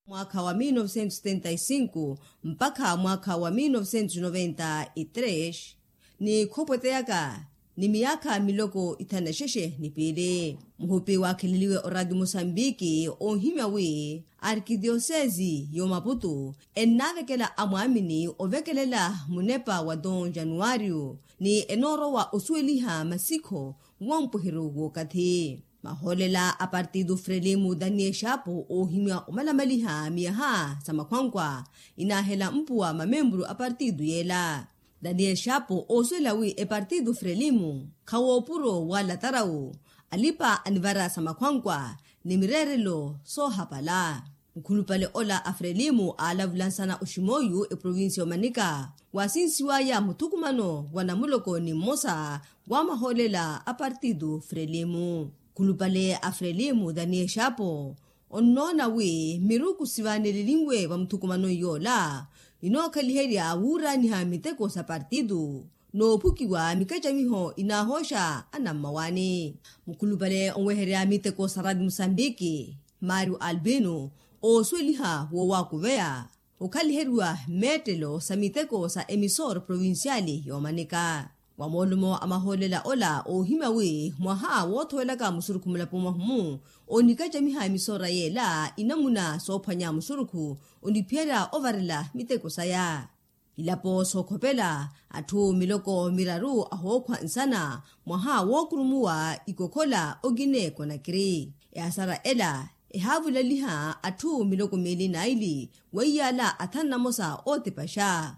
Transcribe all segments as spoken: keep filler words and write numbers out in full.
Mwaakha wa mil novecentos setenta e cinco mpakha mwaakha wa mil novecentos noventa e tres, ni khopweteyaka ni miyaakha miloko ithanu na xexe ni piili. Muhupi waakheleliwe oradio mosambiki oohimya wi arkidiyosesi y'omaputu ennaavekela amwaamini ovekelela munepa wa ton januwaariyo, ni enoorowa osuweliha masikho wampuheru w'okathi. Mahoolela a partido frelimo daniel shapo oohimya omalamaliha miyaha sa makhwankwa inaahela mpuwa mamemburu a partido yeela. Daniel shapo oosuwela wi epartido frelimo khawoopuro wala tarawu alipa anivara sa makhwankwa ni mireerelo soohapala. Mukhulupale ola a frelimo aalavulansana oximoyu eprovincia omanika waasinsiwaya muthukumano wa namuloko ni mmosa wa mahoolela a partido frelimo. Mukhulupale a frelimo daniel shapo onnoona wi miruku sivaanelelinwe va muthukumanoni yoola inookhaliherya wuuraaniha miteko sa partido noophukiwa mikacamiho inaahooxa anammawaani. Mukhulupale onweherya miteko sa radio mosambiki mario albino oosuweliha woowakuveya okhaliheriwa mmeettelo sa miteko sa emisoro provinciali yoomanika. Wa moolumo a mahoolela ola oohimya wi mwaha woothowelaka musurukhu mulapo mwahumu onikacamiha emisoora yeela inamuna soophwanya musurukhu oniphiyerya ovarela miteko saya. Ilapo sookhopela atthu miloko miraru ahookhwa nsana mwaha wookurumuwa ikokhola okine konakiri. Ehasara ela ehaavulaliha atthu miloko miili naili weiyaala athanu namosa ootipaxa.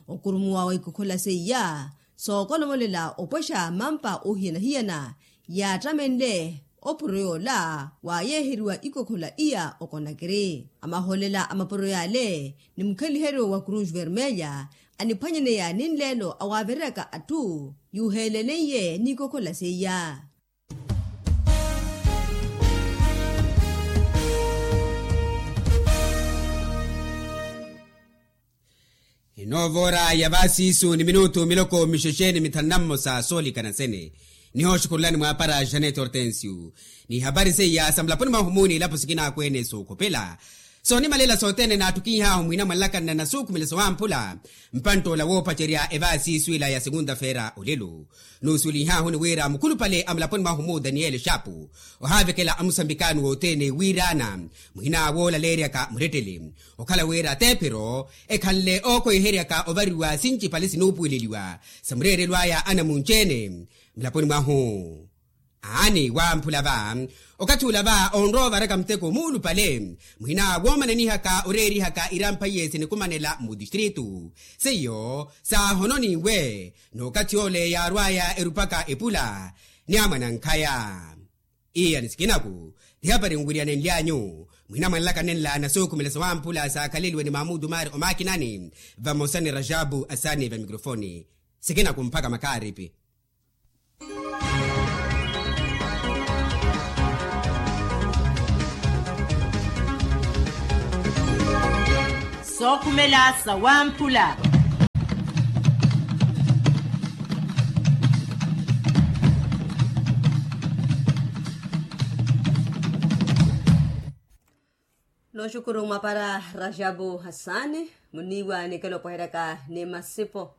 Okurumuwa wa ikokhola seiya sookolomolela opwexa mampa oohiyana-hiyana yaattamenle opuro yoola waayeeheriwa ikokhola iya okonakiri. Amahoolela a mapuro yaale ni mukheliheryo wa cruz vermelha aniphwanyaneya ni nleelo awaavereryaka atthu yuuheeleneiye n'ikokhola seiya. Inoova ora ya vaasiisu ni minutu miloko mixexe ni mithanu na mmosa soolikana sene. Nihooxukhurulani mwaapara janet hortensio n'ihapari seiya sa mulaponi mwahu muuni ilapo sikinaakwene sookhopela soonimalela sothene naattukinhaahu mwina mwanlakanna na suukhumela sowamphula. Mpantt'ola woopacerya evaasiisu ila ya segunda feira olelo nuusuwelihaahu ni wira mukhulupale a mulaponi mwahu mu daniel shapu ohaavekela amusambikaani wothene wiiraana muhina woolaleeryaka murettele okhala wira teephero ekhanle ookhoiheryaka ovariwa sincipale sinuupuweleliwa sa mureerelo aya anamunci-ene mulaponi mwahu. Aani wamphula va okathi ula va onrowa ovaraka muteko muulupale muhina woomananihaka oreerihaka irampha iye sinikumanela mutistritu seiyo saahononinwe n'okathi ole yaarwaya erupaka epula ni amwanankhaya. Iya ni sikinaku tihapari nwiriyanenly'anyu mwina mwanlaka nenla na sookhumela sawamphula saakhaleliwe ni mamudu mari omakinani vamosa ni rajabu asani va mikrofoni. Sikinaku mpakha makaaripi. Sookhumela sawamphula. Nooxukuru mwapara rajabu hasani muniiwa nikela opweheryaka ni masipo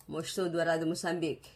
mooxituutu wa radio mosambiki.